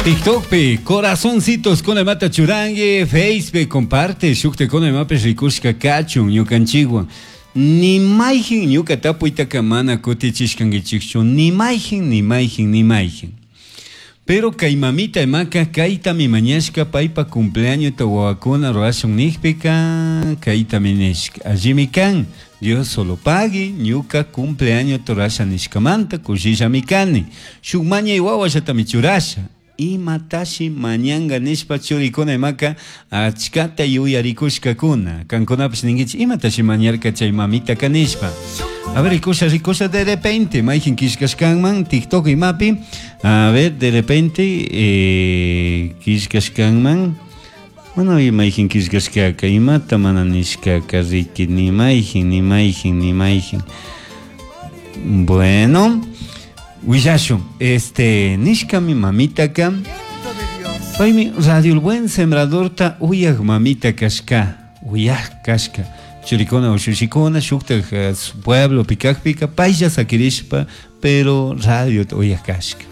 TikTokpi corazoncitos con imata churangi, Facebook comparte, shukta con imapish rikushka kachun ñukanchikwan. Ni mayjin ñuka tapuytaka mana kutichishkankichikchu, ni mayjin, ni mayjin, ni mayjin. Pero kay mamita imaka kaytami mañashka paypa cumpleañota wawakuna rurashun nijpika kaytami nishka. Allimi kan, Dios solo pagui, ñuka cumpleañota rurasha nishkamanta kushillami kani. Shuk mañay wawallatami churasha. Imatashi mañanga nishpa churikuna imaka achkata yuyarikushkakuna. Kankunapish ninkichik imatashi mañarka chay mamitaka nishpa. A ver, rikusha, rikusha de repente, mayjin killkashkanman TikTok imapi. A ver, de repente, killkashkanman. Mana mayjin killkashkaka, imata mana nishkaka, riki, ni mayjin, ni mayjin, ni mayjin. Bueno, willashun, nishkami mamitaka, paymi Radio El Buen Sembradorta uyaj mamita kashka, uyaj kashka. Churikuna ushushikuna, shuktaj pueblo pikajpika, paylla sakirishpa, pero radio uyaj kashka.